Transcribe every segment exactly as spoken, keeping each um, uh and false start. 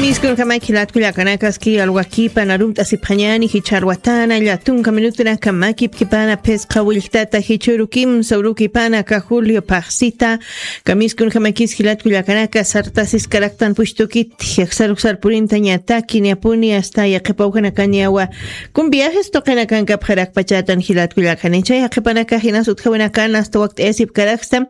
Miskunjamaki jilatkullakanakaski alwakipan arumt'asipxañani jichharwatana llatunka minutunaka makipkipana phisqa willtata jichuru kimsa urukipana ka julio phaxsita. Kamiskunjamakis jilatkullakanaka sartasiskaraktan pushtukit. Yaksaruk sarpurintañataki niyapuni asta yaqipawjanakaniyawa kun viajes tuqinakankapxarakpachatan jilatkullakani chay yaqipanaka jinas utjawinakan asta wakt'ayasipkaraksta.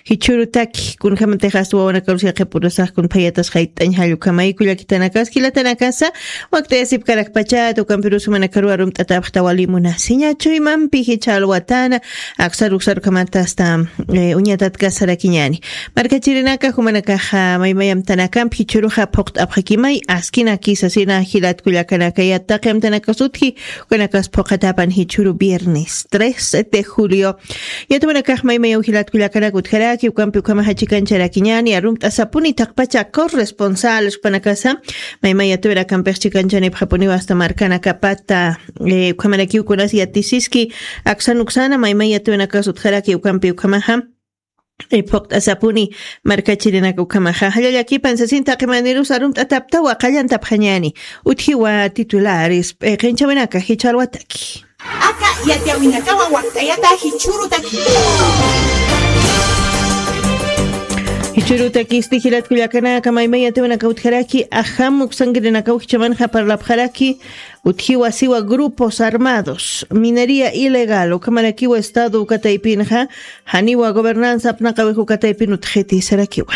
Jichhürutaki kunjämatix asta wawanakarus yaqhipurusaq kun phayatas jayt'añ jallukhamayku llakitanakas jilatanakasa wakt'ayasipkarakpachata ukampirus jumanakaru arumt'atapxta wali munasiña chuymampi jichha alwatana aksar uksar ukhamata asta uñatatkasarakiñani. Markachirinaka jumanakaxa maymayamtanakampi jichhüruxa phuqt'apxakimay askinakisasina jilatkullakanakayat taqi amtanakas utji. Ukanakas phuqatapan jichhüru viernes tres de julio. Yatuwanakax maymayaw jilatkullakanak utjaraki ukampi ukhamaxa chikancharakiñani arumt'asapuni thaqpacha corresponsal supanakasa maymay yatuwanakampix chikanchani phapunïwa asta markanakapata. Ukhamarakiw kunas yatisiski aksan uksana maymay yatuwanakas utjaraki ukampi ukhamaxa phuqt'asapuni. Markachirinaka ukhamaxa jallallakipan sasin taqi manirus arumt'ataptawa qallantapxañani. Utjiwa titulares p'iqinchawinaka jichharwataki. Aka yatiyawinakawa wakt'ayata jichhürutaki. Jichhürutakisti jilatkullakanaka maymay yatiwanaka utjaraki ajam uksankirinakaw jichhamanxa parlapxaraki. Utjiwa siwa grupos armados minería ilegal ukhamarakiwa estado ukataypinxa janiwa gobernanza apnaqawix ukataypin utjiti sarakiwa.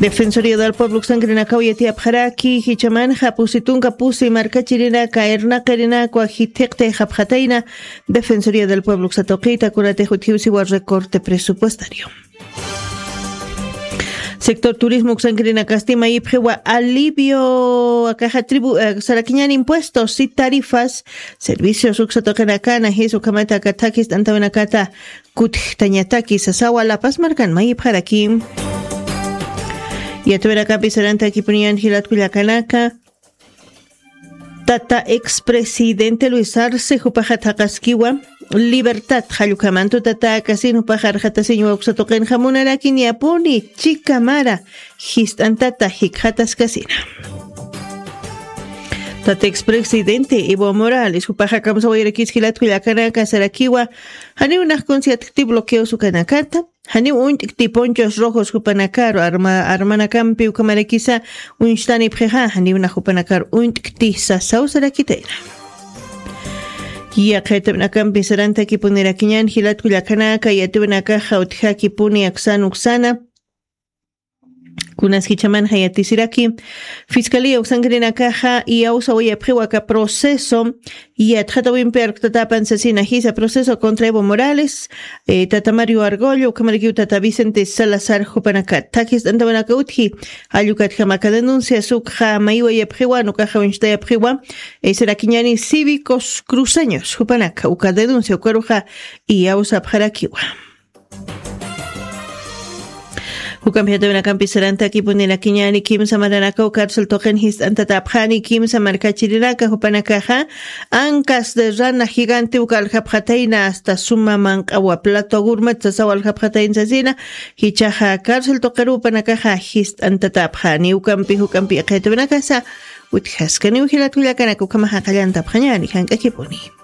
Defensoría del pueblo uksankirinakaw yatiyapxaraki jichhamanxa pusi tunka pusi markachirinaka irnaqirinakwa jithiqtayxapxatayna. Defensoría del pueblo uksatuqita kunatix utjiw siwa recorte presupuestario. Sector turismo uksankirinakasti mayipxiwa alivio akaxa tribu sarakiñan impuestos si tarifas servicios uksatuqinakana jis ukhamata akathakis t'antawinakata kutjtañataki sasawa lapas markan mayipxaraki. Yatuwinakapi sarantakipuniyan jilatkullakanaka tata expresidente luis arce jupaxa thaqaskiwa libertad jallukhamantu tata akasin jupaxa arxatasiñwa uksatuqinxa munarakiñapuni chikamara jist'antata jikxataskasina. Tata expresidente evo morales jupaxa kamsawayarakis jilatkullakanaka sarakiwa janiw nax conciertkti bloqueos ukanakata janiw uñt'kti ponchos rojos jupanakaru armanakampi ukhamarakisa uñstanipxixa janiw nax jupanakaru uñt'kti sasaw sarakitayna. Yaqhaytawinakampi sarantakipunirakiñan jilatkullakanaka yatiwinakaxa utjakipuni aksan uksana. Kunas jichhamanxa yatisiraki fiscalía uksankirinakaxa iyawsawayapxiwa aka proceso yatxatawimpi arktatapan sasina jisa proceso contra evo morales tata mario argollo ukhamarakiw tata vicente salazar jupanaka thakis t'antawanaka utji. Jallukatjama aka denuncias ukxa maywayapxiwa nukaxa uñchtayapxiwa sarakiñani cívicos cruceños jupanaka uka denuncia ukaruxa iyawsapxarakiwa. Jukampiyatawinakampi sarantakipunirakiñani kimsa maranakaw cárcel tuqin jist'antatapxani kimsa markachirinaka jupanakaxa ancas de rana gigante uka aljapxatayna asta suma manq'awa plato agurmat sasaw aljapxatayna sasina. Jichhaxa cárcel tuqirupanakaxa jist'antatapxani ukampi jukampi iqhaytawinakasa utjaskaniw jilatkullakanaka ukhamaxa qallantapxañani jank'akipuni.